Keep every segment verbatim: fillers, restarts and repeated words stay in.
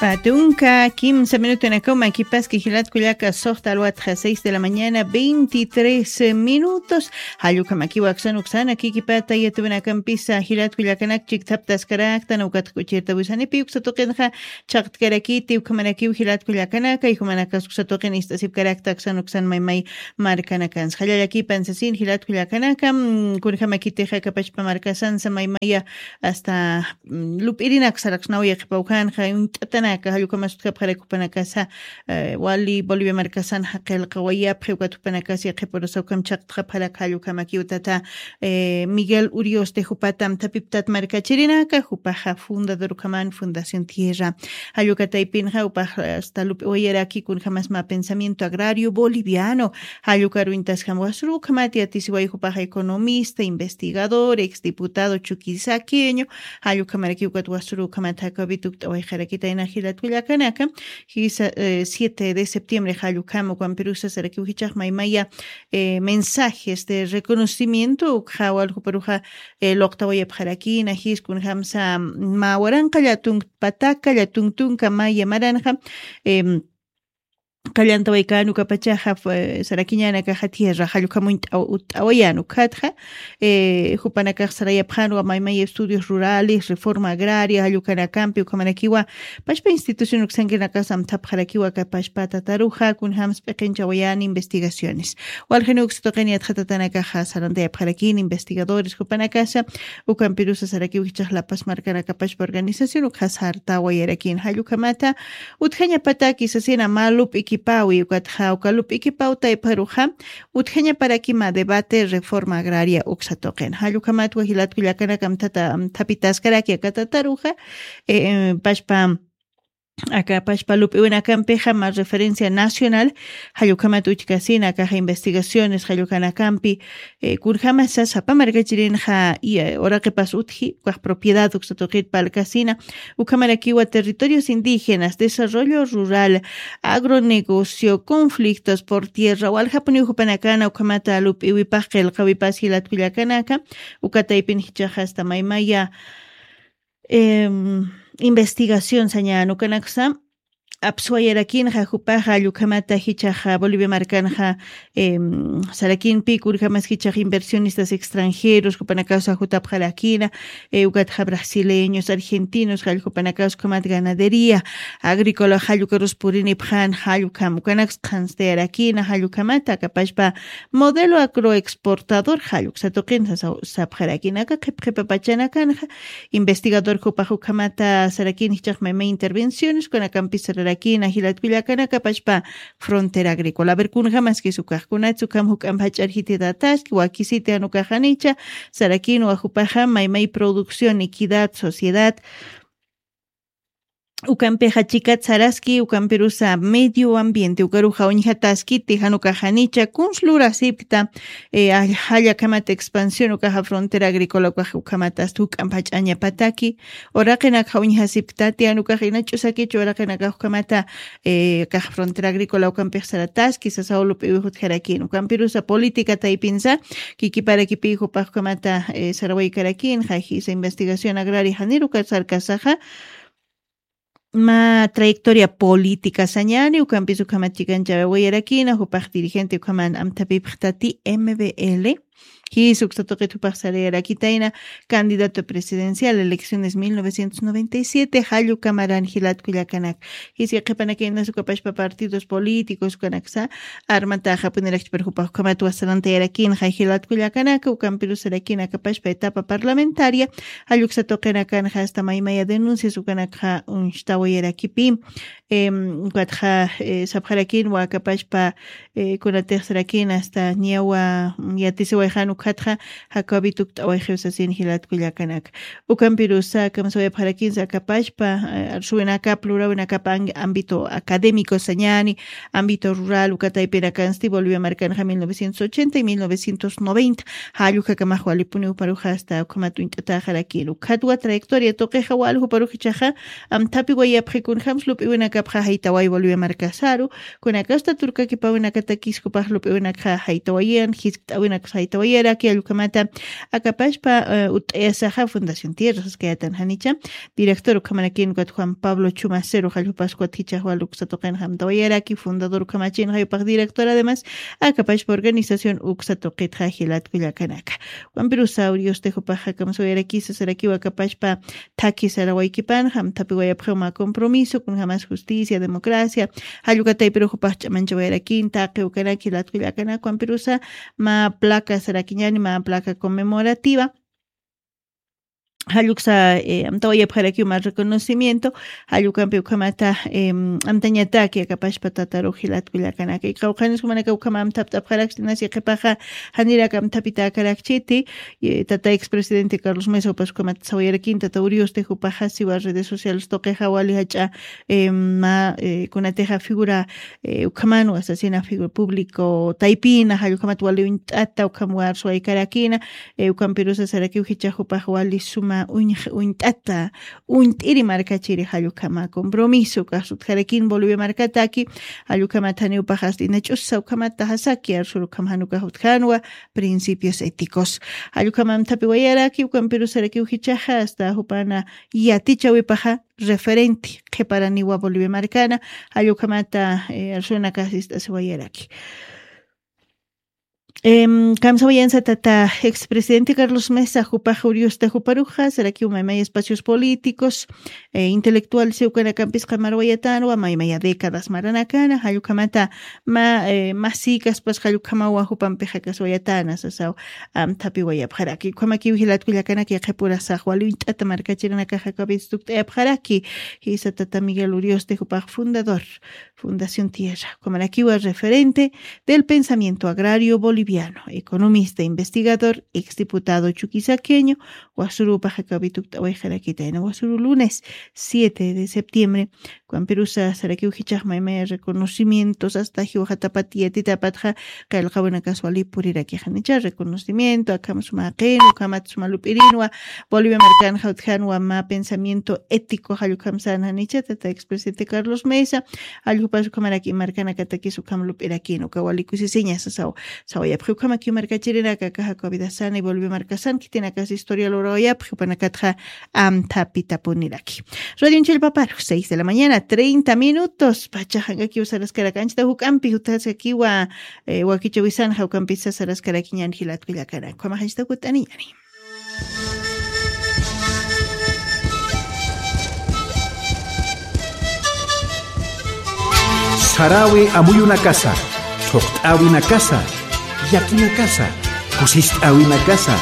Patunka kimsa minutunakaw makipaski jilat kullaka, soxta alwatxa seis de la mañana, veintitrés minutos. Jallukamakiwa aksan uksana kikipata yatubinakampisa jilat kullakanak chikthaptaskaraktan ukatxa kuchirta wisanipi uksa tuqinxa chaqtkarakiti ukhamanakiw jilat kullakanaka, y jumanakas uksa tuqin ist'asipkarakta aksan uksan maymay markanakansa. Jallallakipan sasin jilat kullakanaka, mm, kunjamakitixa kapachpa markasansa maymaya hasta mm, lup'irinak saraksnaw yaqhipaw kanxa, uñt'atanaka, jallukhamas utjapxarak jupanakasa, eh, wali Bolivia markasan jaqilqawayapxi, ukat jupanakas yaqhipurusa ukham chaqtxapxarak jallukhamaki utata, eh, Miguel Urioste jupata amthapiptat markachirinaka, jupaxa fundador ukhaman Fundación Tierra. Jallukataypinxa jupax, eh, hasta lup'iwayaraki kunjamas mä pensamiento agrario boliviano, jallukaruñtasjam wasrukhamat yatisiway jupaxa economista, investigador, exdiputado Chuquisaqueño, jallukhamarakiw ukat wasrukhamat jakawituk t'awayxarakitayna jilat kullakanaka, jisa, eh, siete de septiembre jallukham ukampirusa sarakiw jichax maymaya, eh, mensajes de reconocimiento ukxa waljuparuxa, eh, luqtawayapxarakina, jis kunjamsa mä waranqa llatun pataka, llatun tunka maya maranxa, em, qallantawaykan ukapachaxa, eh, sarakiñanakaxa tierra jallukhamuñ t'aw-, t'awayan ukatxa, eh, jupanakax sarayapxanwa maymay estudios rurales, reforma agraria, jallukanakampi ukhamanakiwa, pachpa institución uksankinakasa amthapxarakiwa kapachpa tataruxa, kunjams p'iqinchawayan investigaciones. Waljanux tuqin yatxatatanakaxa sarantayapxarakin investigadores jupanakasa, ukampirusa sarakiw jichax La Paz markanakapachpa organización ukxa sartawayarakin jallukhamata, utjañapataki sasina mä lup'ikipawi, ukatxa uka lup'ikipawtaypxaruxa, utjañaparaki mä debate reforma agraria uksa tuqin. Jallukhamatwa jilat kullakanaka amthata, amthapitaskaraki aka tataruxa, eh, eh, pachpa, aka pachpa lup'iwinakampixa mä referencia nacional, jallukhamat uchkasina akaxa investigaciones, jallukanakampi, eh, kunjamasa sapa markachirinxa, y, eh, uraqipas utji, ukax propiedad uksa tuqit palkasina, ukhamarakiwa territorios indígenas, desarrollo rural, agronegocio, conflictos por tierra, waljapuniw jupanakana, ukhamata lup'iwipax qillqawipas jilat kullakanaka, ukataypin jichaxa hasta maymaya, em, investigación sañan ukanaksa, apswayarakinxa jupaxa, jallukhamata jichaxa Bolivia markanxa, em, sarakinpi kunjamas jichax inversionistas extranjeros, jupanakasa jutapxarakina, eh, ukatxa brasileños, argentinos, jallukhapanakasa ukhamat ganadería agrícola, jallukarus purinipxan, jallukham ukanaks qhanstayarakina, jallukhamata kapachpa modelo agroexportador, jalluksa tuqin sasa-, sapxarakinaka, qhipqhipapachanakanxa, investigador jupax ukhamata sarakin jichax maymay intervenciones, kunakampis sararakina, jilat kullakanaka pachpa frontera agrícola. A ver, kunjamaskis ukax, kunats ukham juk'amp jach'ar jititataski, wakisiti jan ukaxanicha, sarakin wajupaxa maymay producción, equidad, sociedad, ukampixa chikat saraski, ukampirusa medio ambiente, ukaruxa uñjataskiti, jan ukaxanicha, kuns lurasipkta, eh, jallakhamat expansión ukaxa frontera agrícola ukax ukhamat hasta juk'amp jach'añapataki, uraqinakxa uñjasipktati, jan ukax ina ch'usakichu uraqinakax ukhamata, eh, kax frontera agrícola ukampix sarataski, sasaw lup'iwi jutjarakin, ukampirusa política taypinsa, kikiparakipi jupax ukhamata, eh, sarawaykarakin, jajisa investigación agraria janir ukat sarkasaxa, mä trayectoria política sañani, ukampis ukhamat chikanchawayarakina, jupax dirigente ukhaman amthapipxtati M B L, jis uksa tuqit jupax sarayarakitayna, candidato presidencial, elecciones mil novecientos noventa y siete, jallukamaran jilat kullakanak. Jis yaqhipanakaynas ukapachpa partidos políticos ukanaksa, armataxapunirakchpar jupax ukhamat wasarantayarakin, jay jilat kullakanaka, ukampirusarakina kapachpa etapa parlamentaria, jalluksa tuqinakanxa hasta maymaya denuncias ukanakxa uñstawayarakipi, em, ukatxa, eh, sapxarakin wakapachpa, eh, kunatix sarakin hasta ñawa, mm, yatisiwayxan ukatxa, jakawit ukt'awayxiw sasin jilat kullakanaka. Ukampirusa kamsawayapxarakinsa akapachpa, eh, arsuwinakap, lurawinakap ang-, ámbito académico sañani, ámbito rural, ukataypinakansti Bolivia markanxa mil novecientos ochenta y mil novecientos noventa. Jallukakamax walipuniw paruxa hasta ukhamat uñt'ataxarakin. Ukhatwa trayectoria tuqixa waljuparuxichaxa, amthapiwayapxi kunjams lup'iwinakapxa jaytaway Bolivia markasaru, kunakasta turkakipawinakatakis jupax lup'iwinakxa jaytawayan, jiskt'awinaksa jaytawayan, Raki allkamata akapashpa, eh, ut'ayasaxa Fundación Tierra saskayatan janicha. Director ukhamarakin ukat Juan Pablo Chumacero, jallpasku ukat jichax wal uksa tuqinxa amtawayaraki, fundador ukhamachin jaypax director, además, akapashpa organización uksa tuqitxa jilat kullakanaka. Juan Pirusa Urioste jupaxa kamsawayarakisa sarakiwa akapashpa thakhi sarawaykipan, amthapiwayapxi mä compromiso, kunjamas justicia, democracia, jallukataypiru jupax ch'amanchawayarakin, taqi ukanaki, jilat kullakanaka, Juan Pirusa, mä placa sarakiñani, mä placa conmemorativa. Jalluksa, eh, amtawayapxarakiw mä reconocimiento, jallukampi ukhamata, em, amtañataki akapashpa tatarux jilat kullakanaka. Qawqhanis jumanaka ukhama amthapt'apxarakchi, nasi qhipaxa janirak amthapitäkarakchiti, eh, tata expresidente Carlos Mesa jupas ukhamat sawayarakin, tata Urioste jupaxa siwa redes sociales tuqixa wali jach'a, em, mä, eh, kunatixa figura eh, ukhaman asesina figura público taypina, jallukhamat wali uñt'ata, ukham warsuwaykarakina, eh, ukampirusa sarakiw jichax jupax wali suma uñ-, uñt'ata, uñt'iri markachiri jallukhama compromiso, ukax utjarakin Bolivia markataki, jallukhamat janiw paxasti nach'usa, ukhamat tajasaki, arsur ukham jan ukax utjanwa, principios éticos. Jallukhama amthapiwayaraki, ukampirusa sarakiw jichaxa, hasta jupana yatichawipaxa, referente, qhiparaniwa Bolivia markana, jallukhamata, eh, arsunaka sist'asiwayaraki. Em, kamsawayansa tata expresidente Carlos Mesa, jupax Urioste juparuxa, sarakiw maymaya espacios políticos, eh, intelectual siw ukanakampis qamaruwayatanwa, maymaya décadas maranakana, jallukhamata mä, eh, mä sikaspas jallukhamawa jupampixa kaswayatana, sasaw, amthapiwayapxaraki. Ukhamakiw jilat kullakanaka, qhipurasax wali uñt'ata markachirinakaxa akapis tukt'ayapxaraki, jisa tata Miguel Urioste jupax fundador, Fundación Tierra. Ukhamarakiwa referente del pensamiento agrario boliviano, economista, investigador, exdiputado chuquisaqueño, wasurupax akapi tukt'awayxarakitayna, wasuru lunes siete de septiembre, Juan Pirusa sarakiw jichax maymaya reconocimientos, hasta jiwxatapat yatitapatxa, qillqawinakas wali purirakixanicha reconocimiento, akham suma jaqin, ukhamat suma lup'irinwa, Bolivia markanxa utjanwa mä pensamiento ético, jallukhamsan janicha, tata expresidente Carlos Mesa, jalljupas ukhamaraki markanakatakis ukham lup'irakin, uka wali kusisiña sasaw, sawayapxi ukhamaki markachirinaka, akaxa Covidasana y Bolivia markasan, khitinakas historia lurawayapxi, jupanakatxa amthapitapuniraki. Radio Chillpaparu, seis de la mañana, treinta minutos. Pachaxankakiw saraskarak anchita juk'ampi, jutjaskakiwa, eh, wakichawisan jawkampisa saraskarakiñan jilat kullakanaka. Ukhamax anchita kut'aniñani. Sarawi amuyunakasa, thuqt'awinakasa, llakinakasa, kusist'awinakasa,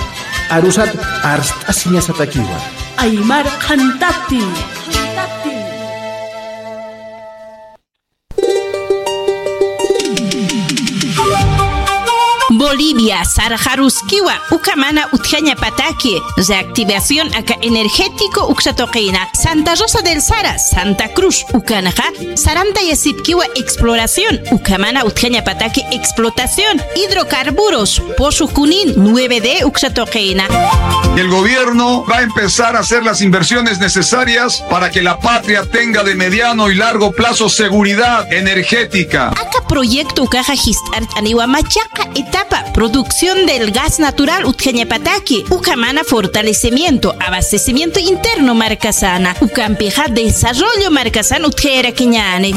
arusat arst'asiñasatakiwa. Aymar qhantati. Bolivia, sarxaruskiwa, uka mana utjañapataki, reactivación aka energético uksa tuqina, Santa Rosa del Sara, Santa Cruz, ukanxa, sarantayasipkiwa exploración, uka mana utjañapataki explotación, hidrocarburos, Pozo Junín, nueve D uksa tuqina. El gobierno va a empezar a hacer las inversiones necesarias para que la patria tenga de mediano y largo plazo seguridad energética. Aka proyecto ukaxa jist'art'aniwa machaqa etapa, producción del gas natural utjañapataki, uka mana fortalecimiento, abastecimiento interno markasana, ukampixa desarrollo markasan utjayarakiñani.